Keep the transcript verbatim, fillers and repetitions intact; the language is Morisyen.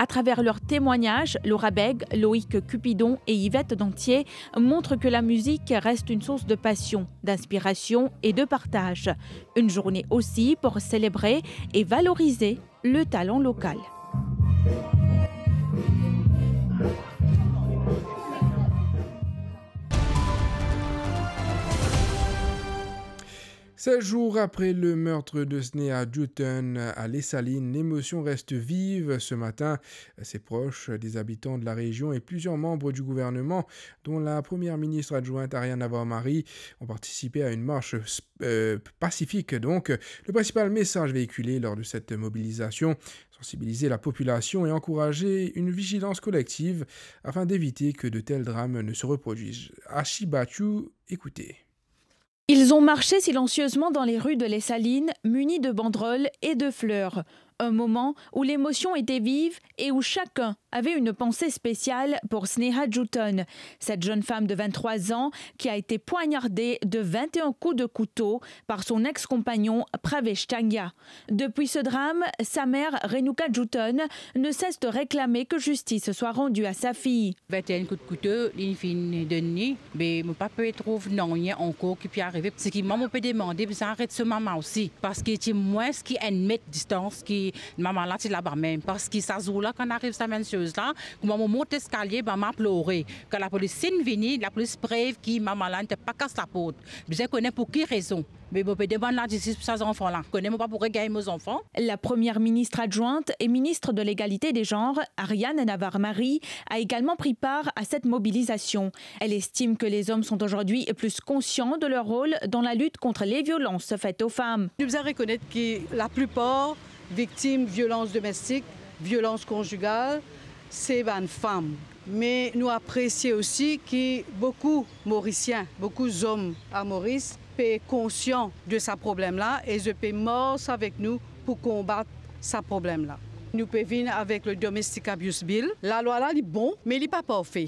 À travers leurs témoignages, Laura Beg, Loïc Cupidon et Yvette Dantier montrent que la musique reste une source de passion, d'inspiration et de partage. Une journée aussi pour célébrer et valoriser le talent local. Seize jours après le meurtre de Sneha Djoutone à Les Salines, l'émotion reste vive ce matin. Ses proches, des habitants de la région et plusieurs membres du gouvernement, dont la première ministre adjointe Ariane Navarro-Marie, ont participé à une marche, euh, pacifique. Donc, le principal message véhiculé lors de cette mobilisation, sensibiliser la population et encourager une vigilance collective afin d'éviter que de tels drames ne se reproduisent. Ashi Bachou, écoutez. Ils ont marché silencieusement dans les rues de Les Salines, munis de banderoles et de fleurs. Un moment où l'émotion était vive et où chacun avait une pensée spéciale pour Sneha Djoutone, cette jeune femme de vingt-trois ans qui a été poignardée de vingt et un coups de couteau par son ex-compagnon Pravesh Tania. Depuis ce drame, sa mère, Renuka Djoutone, ne cesse de réclamer que justice soit rendue à sa fille. Vingt et un kout kouto, li finn donn li, me mo pa pe trouv nanye ankor ki pe arive. Seki mwa mo pe demande, bizin aret so mama osi, parski ti mwins ki enn met distans ki mama la ti laba mem. Parski sa zour la, kan ariv sa mem soz la, kouma mo mont leskalie, mama plore. Kan lapolis finn vini, lapolis prev ki mama la ti pa kas laport. Bizin kone pou ki rezon. Me mo pe demann lazistis pou sa zanfan la. Kone mo pa pou regagn mo zanfan. La première ministre adjointe et ministre de l'Égalité des genres, Ariane Navarro-Marie, a également pris part à cette mobilisation. Elle estime que les hommes sont aujourd'hui plus conscients de leur rôle dans la lutte contre les violences faites aux femmes. Nou bizin rekonet ki laplipar viktim violans domestik, violans konzigal, se bann fam. Me nou apresie osi ki boukou Morisien, boukou zom a Moris pe konsian de sa problem la e zot pe mars avek nou pou konbat sa problem la. Nou pe vinn avek le Domestic Abuse Bill. Lalwa la, li bon, me li pa parfe.